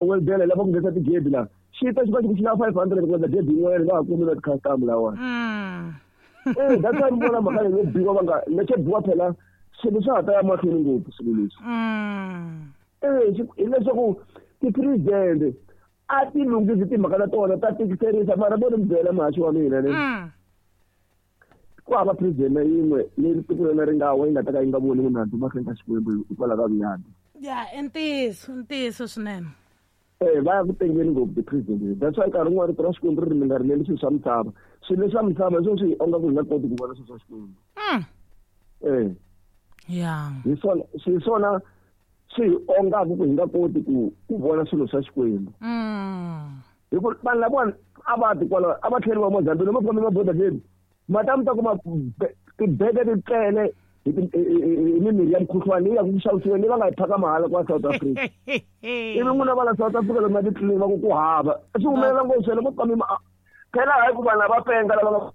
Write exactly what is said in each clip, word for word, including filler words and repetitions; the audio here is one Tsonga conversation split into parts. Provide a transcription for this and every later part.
Welbele lava ku nghenisa tigedi laha xi ta xi va xi ku xi lava five hundred ku endla gedi yin'wanyana va ha kumi na ti-customer lawani. Eh, that's why ni vona mhaka leyi yo biwa va nga lexo biwa phela swilo swa ha ta ya mahlweni ngopfu swilo leswi. Eh, hileswaku ti-president a ti lunghisi timhaka ta tona ta tikiserisa mara vo ni mi byela muhaxi wa mina ni ku hava president na yin'we leyi tiko rona ri nga wa yi nga ta ka yi nga voni munhu mahlweni ka Xikwembu hikwalaho ka vuyadi. Ya, i ntiyiso, i ntiyiso swinene. Eh, va ya ku tengeni ngopfu ti-president. That's why nkarhi wun'wani rito ra Xikwembu ri ri mi nga rileli swilo swa misava. Swilo leswa misava hi swona swi hi onga ku hi nga koti ku vona swilo swa Xikwembu. Eh. Ya. Hi swona swi swona swi hi ongaka ku hi nga koti ku ku vona swilo swa Xikwembu. Hi ku vanhu lavawani a va ti kwala a va tlheriwa Mozambique loko va famba border gate mata mi ta kuma tibege ti tele hi mimirhi ya mukhuhlwani leyi ya ku xavisiweni leyi va nga yi phaka mahala kwa South Africa. Ivi n'wina va la South Africa loko ma titliliniki va ku ku hava swi humelela ngopfu swele vo kami phela hayi ku vanhu lava penga lava nga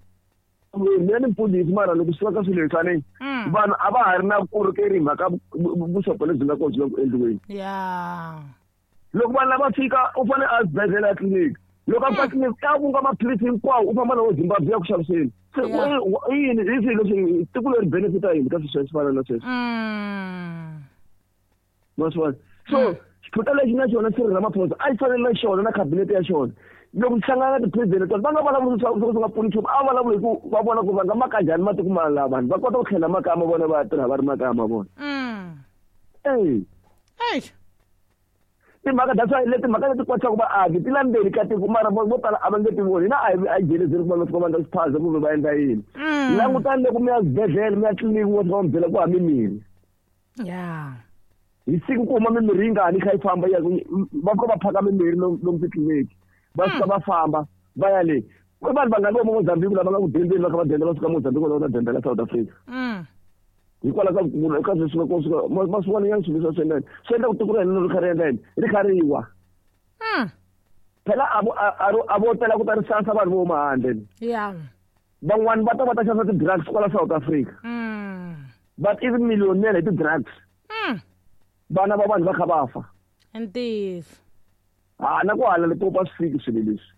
mina ni mfundhisi mara loko swi ka swilo leswi vanhu a va ha ri na vukorhokeri hi mhaka vuxopo lebyi nga kona byi le ku endliweni. Loko vanhu lava fika u fanele a xibedhlele a tliliniki loko a fika tliliniki ka vunga maphilisi hinkwawo u famba na wo Zimbabwe ya ku xaviseni. Se i yini hi swilo leswi tiko leri benefita yini ka swilo swa fana na sweswo. Ma swi vona so xiphuta lexi na xona Cyril Ramaphosa a xi fanele na xona na cabinet ya xona loko xi hlangana na ti-president tona va nga vulavuli swa swi nga pfuni nchumu a vulavuli hi ku va vona ku va nga maka njhani matiko ma lava vanhu va kota ku tlhela makaya ma vona va ya tirha va ri makaya ma vona. Eh. Timhaka that's why leti mhaka leti kwatisaka vaaki ti la ndzeni ka tiko mara vo tala a va nge ti voni hina a hi a hi jelezeli ku va fika va endla xiphaza kumbe va endla yini. Langutani loko mi ya xibedhlele mi ya tliliniki wo fika va mi byela ku hava mimirhi. Hi siku ku huma mimirhi yingani yi kha yi famba ya va fika va phaka mimirhi lomu titliliniki va fika va famba va ya le i vanhu vangani vo Mozambique lava nga ku dendeni va kha va denda va suka Mozambique va ta dendela South Africa. Hikwalaho ka ku ka sweswi ka swi ma swi vona nyana swilo leswi swi endla swi endla ku tiko ra hina ri kha ri endla yini ri kha ri wa. Phela a vo a vo tela ku ta ri sansa vanhu vo huma handle. Van'wani va ta va ta xavisa ti-drugs kwala South Africa. But even millionaire hi ti-drugs. Vana va vanhu va kha va fa. Ntiyiso. Ha na ku hala Limpopo a swi fiki swilo leswi.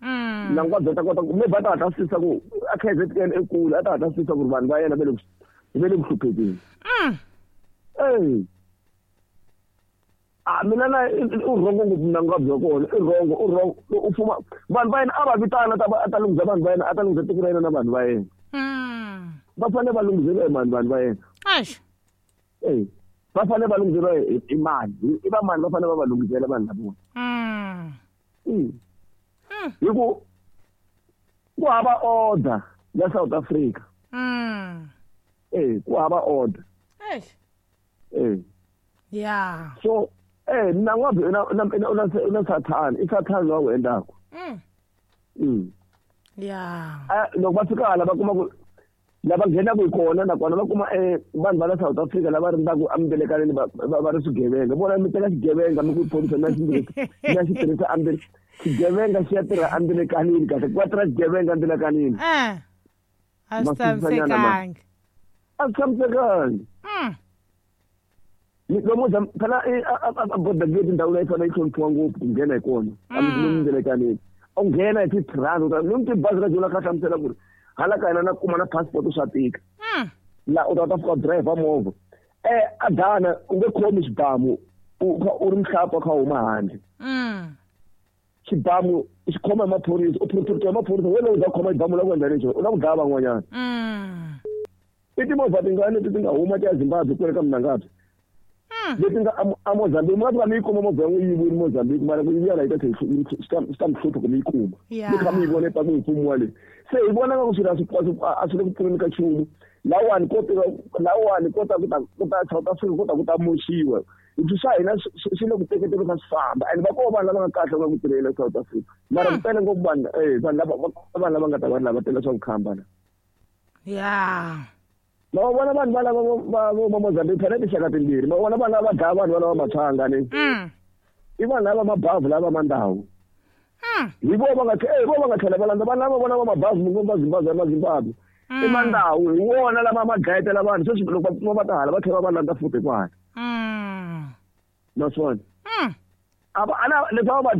Nangwa bya ta kota ku maybe a ta hatla swi tisa ku a K Z N ekule a ta hatla swi tisa ku ri vanhu va yena va le va le ku hluphekeni. Eh. A mina na u rhongo ngopfu Mnangagwa bya kona i rhongo u rhongo u fuma vanhu va yena a va vitana ta a ta lunghisa vanhu va yena a ta lunghisa tiko ra yena na vanhu va yena. Va fanele va lunghiseriwa hi mani vanhu va yena. Eh. Va fanele va lunghiseriwa hi mani i va mani va fanele va va lunghisela vanhu lava. Hi ku ku hava order ya South Africa. Eh, ku hava order. Eh. Yeah. So eh Mnangagwa na na na Sathana, i Sathana lowu wu endlaka. Mm. Yeah. Ah, loko va fika hala va kuma ku lava nghenaka hi kona nakona va kuma eh vanhu va la South Africa lava rindzaka embelekaneni va va ri swigevenga. Vona mi teka xigevenga mi ku phorisa na xi na xi tirhisa ambele xigevenga xi ya tirha embelekanini kahle ku va tirha xigevenga embelekanini. Eh. A swi tshamisekangi. A swi tshamisekangi. Lomu phela a border gate ndhawu leyi fanele yi hloniphiwa ngopfu ku nghena hi kona lomu mbelekanini. U nghena hi fifty rand lomu tibazi ra jona kha hlamusela ku ri hala ka hina na kuma na passport swa tika. La u ta ta fika driver movha. Eh a dana u nge khomi xibamu u ri mhlapa kha huma handle. Xibamu xi khoma hi maphorisa u protectiwa hi maphorisa wena u za khoma xibamu la ku endla lexo u la ku dlaya van'wanyana. I timovha tingani leti ti nga huma ti ya Zimbabwe kwale ka Mnangagwa. Leti nga a Mozambique mi nga fika mi yi kuma movha ya n'wi yiviwile Mozambique mara ku yiviwa la yi ta tlhela swi ta mi hlupha ku mi yi kuma. Mi kha mi yi vona epatwini hi mfumo wa le. Se hi vona nga ku swilo a swi a swi le ku pfuneni ka nchumu. Lawani ko lawani ko ta ku ta ku ta South Africa ko ta ku ta moxiwa. Hi swa hina swi le ku teketeni kha swi famba and va koho vanhu lava nga kahle va ku tirhela South Africa. Mara ku tele ngopfu vanhu eh vanhu lava vanhu lava nga ta va lava tela swa ku khamba la. Yeah. Ma vona vanhu va lava va va Mozambique phela tinxaka timbirhi ma vona vanhu lava dlaya vanhu va lava matshanga ni. I vanhu lava mabavhu lava mandhawu. Hi vo va nga eh vo va nga tlhela va landza vanhu lava vona va mabavhu va Zimbabwe ma Zimbabwe. I mandhawu hi wona lama ma dlayetela vanhu sweswi loko va va ta hala va tlhela va landza futhi kwala. Naswona. A va ana leswi va